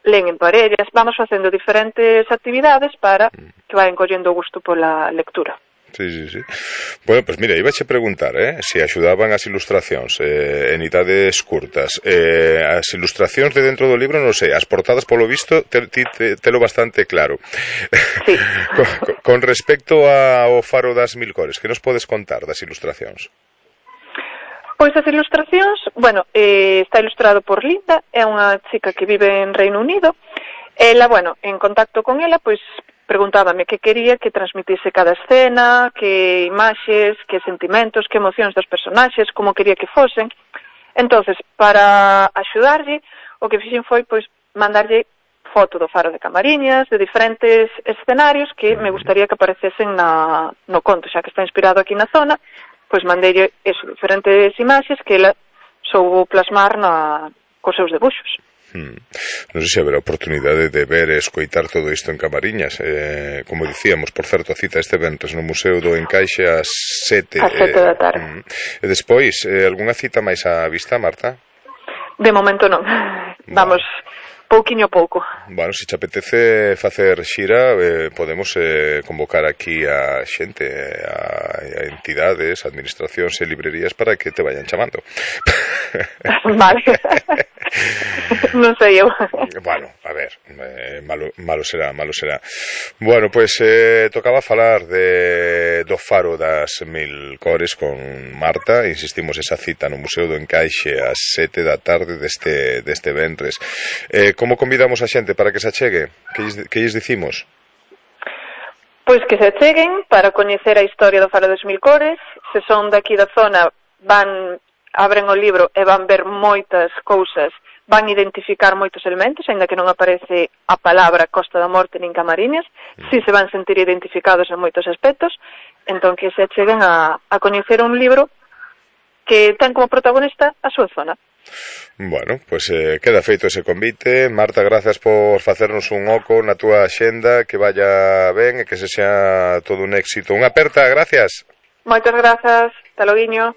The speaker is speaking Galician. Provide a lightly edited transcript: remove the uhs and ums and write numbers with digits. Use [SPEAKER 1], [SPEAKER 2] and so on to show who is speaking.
[SPEAKER 1] len en parellas, vamos facendo diferentes actividades para que vayan collendo o gusto pola lectura.
[SPEAKER 2] Sí. Bueno, pues mira, iba a preguntar, se axudaban as ilustracións en idades curtas. As ilustracións de dentro do libro, non sei, as portadas polo visto telo bastante claro.
[SPEAKER 1] Sí.
[SPEAKER 2] Con respecto ao Faro das Mil Cores, que nos podes contar das ilustracións?
[SPEAKER 1] Pois as ilustracións, bueno, está ilustrado por Linda, é unha chica que vive en Reino Unido. Ela, bueno, en contacto con ela, pois preguntábame que quería que transmitise cada escena, que imaxes, que sentimentos, que emocións dos personaxes, como quería que fosen. Entonces, para axudarlle, o que fixen foi, pois, mandarlle foto do Faro de Camariñas, de diferentes escenarios que me gustaría que aparecesen no conto, xa que está inspirado aquí na zona, pois mandei diferentes imaxes que ela soubo plasmar cos seus debuxos.
[SPEAKER 2] Non sei se haberá oportunidade de ver e escoitar todo isto en Camariñas. Como dicíamos, por certo, a cita este ventres no Museo do Encaixe ás 7
[SPEAKER 1] da tarde.
[SPEAKER 2] E despois, algunha cita máis á vista, Marta?
[SPEAKER 1] De momento non. Vamos pouquiño a pouco.
[SPEAKER 2] Bueno, se te apetece facer xira, podemos convocar aquí a xente, a entidades, administracións e librerías para que te vayan chamando.
[SPEAKER 1] Vale. Non sei eu.
[SPEAKER 2] Bueno, a ver, malo será. Bueno, pois tocaba falar do Faro das Mil Cores con Marta. Insistimos, esa cita no Museo do Encaixe ás 7 da tarde deste ventres. Como convidamos a xente para que se achegue? Que lles dicimos?
[SPEAKER 1] Pois que se acheguen para coñecer a historia do Faro das Mil Cores. Se son daqui da zona, abren o libro e van ver moitas cousas, van identificar moitos elementos, aínda que non aparece a palabra Costa da Morte nin Camariñas, si se van sentir identificados en moitos aspectos. Entón que se acheguen a coñecer un libro que ten como protagonista a súa zona.
[SPEAKER 2] Bueno, pois queda feito ese convite. Marta, grazas por facernos un oco na túa axenda, que vaya ben e que se xa todo un éxito. Unha aperta, gracias.
[SPEAKER 1] Moitas grazas, hasta loguiño.